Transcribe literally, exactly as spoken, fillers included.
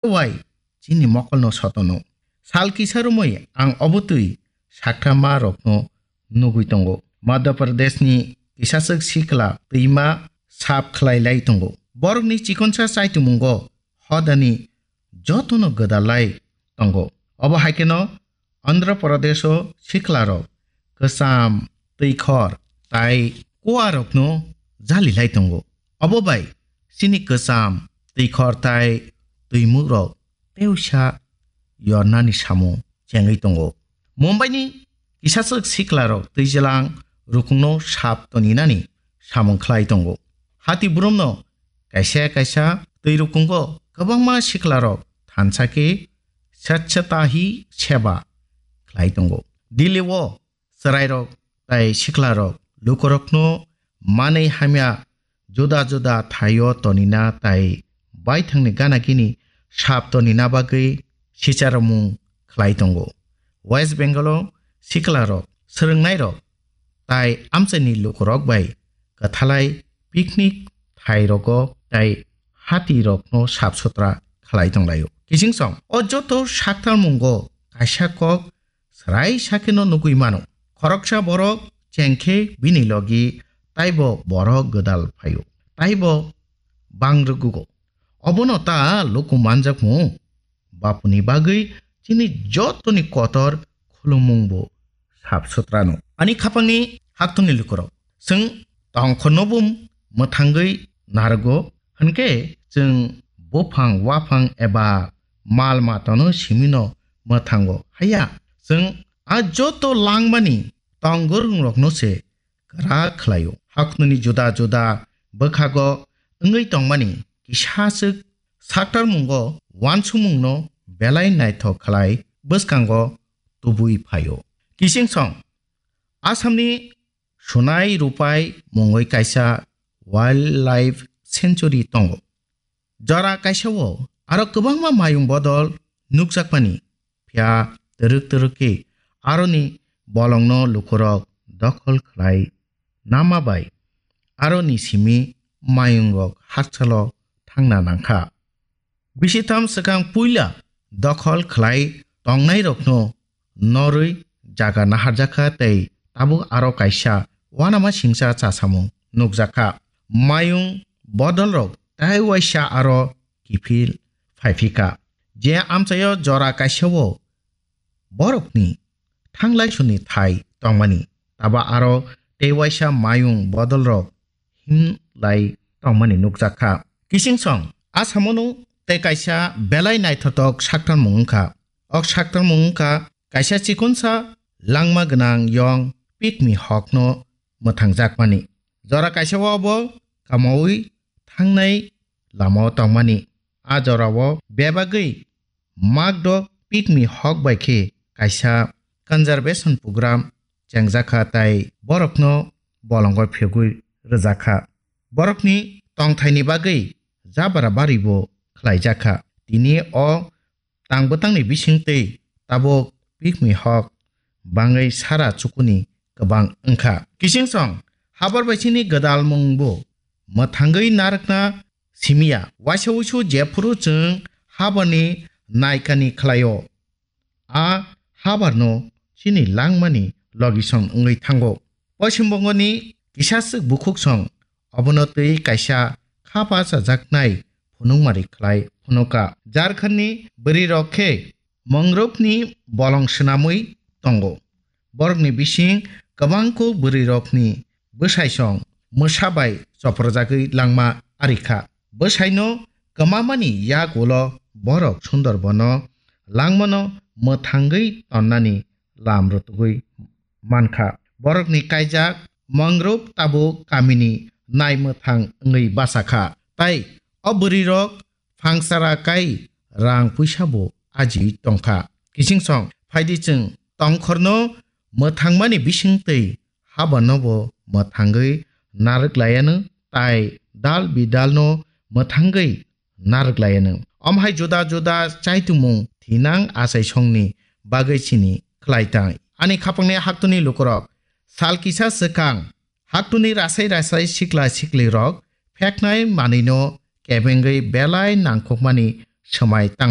wai chini mokolno sotono. Sal kisa romwi ang obotwi sakthama rokno nugwi tongo. Madhya Pradeshni kisaswk sikla twima sap khlai lai tongo. Borokni chikonsa chaitumungo hodani jotono gwdal lai tongo. Obo hai kheno Andhra Pradesho siklarok kwcham, twikhor tai kuarokno jali lai tongo. Obo bai chini kwcham, twikhor tai twimukrok teusa yornani samung chengwi tongo. Mumbaini kisaswk siklarok twijlang rukungno sap toninani samung khlai tongo. Hati burumno kaisa kaisa twi rukungo kwbangma siklarok thansa khe Swachhata Hi Seva khlai tongo. Delhi o chwrairok tai siklarok lukurokno manwi hamya juda juda thaio tonina tai baithangni gana gini sap tonina bagwi sicharomung khlai tongo. West Bengal o siklarok, swrwngnairok tai amchaini lukurok bai kwthalai picnic thairogo tai hatirokno sap sutra khlai tonglaio. Kiching song, o joto saktalmungo kaisa kok srai sakheno nugwi mano. Khoroksa borok chengkhe bini logi taibo borok gwdal phaio, taibo bang rwgugo. Obono ta luku manjakmu? Bapuni bagwi chini jotoni kotor khulumungbo sap sutrano. Ani khapangni haktungni lukurok, chwng tongkhorno bo mwthangwi narwgo, hwnkhe chwng buphang waphang eba mal matano simino mwthango. Haya, chwng a joto langmani tongwrwngrokno se kwrak khlaio. Haknuni juda juda bwkhago wngwi tongmani kisaswk saktarmungo uansukmungno belai naithok khlai bwskango tubui phaio. Kiching song, Assamni Sunai Rupai mungwi kaisa wildlife sanctuary tongo. Jora kaisa-o aro kwbangma mayung bodol nukjakmani, phiya twrwk twrwk khe aroni bolongno lukurok dokhol khlai nama bai aroni simi mayungrok hakchalo thangna nangkha. Bisitham swkang puila dokhol khlai tongnairokno norwi jaga naharjakha tei tabuk aro kaisa uanama singcha chasamung nukjakha. Mayung bodolrok tei waisa aro kiphil phaiphikha. Je amchaio jora kaisa-o borokni thanglai suni thai tongmani, taba aro tei waisa mayung bodolrok himlai tongmani nukjakha. Kiching song, Assamono tei kaisa belai naithotok saktarmung wngkha. Ok saktarmung wngkha kaisa chikonsa langma gwnang yong pikmi hokno mwthangjakmani. Jora kaisa-o bo kamaui thangnai lamao tongmani. A jorao bebagwi makdok pikmi hok bai khe kaisa conservation program chengjakha tai borokno bolongo phegwi rwjakha. Borokni tongthaini bagwi jabra baribo khlaijakha. Tini o tang bwtangni bisingtwi tabuk pikmi hok bangwi sara chukuni kwbang wngkha. Kiching song, habar bai chini gwdal mungbo mwthangwi narwkna simiya. Waisa wuisu jephuru chwng habarni naikani khlaio, a habarno chini langmani logisong wngwi thango. Poschim Bongoni kisaswk bukhuk song obono twi kaisa kha bachajaknai phunukmari khlai phunuka. Jharkhandni bwrwirok khe Mangrove'ni bolong swnamwi tongo. Borokni bising kwbangkuk bwrwirokni bwsaisong mwsa bai choprojagwi langma arikha. Bwsaino kwmamani yak ulo borok Sundarbono langmano mwthangwi tonnani lam rwtugwi mankha. Borokni kaijak mangrove tabuk kamini naimwthang wngwi bachakha. Tai o bwrwirok phangsara kai rang puisa bo ajiwi tongkha. Kiching song, phaidi chwng tongkhorno mwthangmani bisingtwi habarno bo mwthangwi narwk laiyanw tai dal bidalno mwthangwi narwk laiyanw. Omo hai juda juda chaitumung thinang achaisongni bagwi chini khlai tang. Ani khapangni haktuni lukurok, sal kisa swkang haktuni rasai rasai sikla siklirok pheknai manwino kebengwi belai nangkukmani swmai tang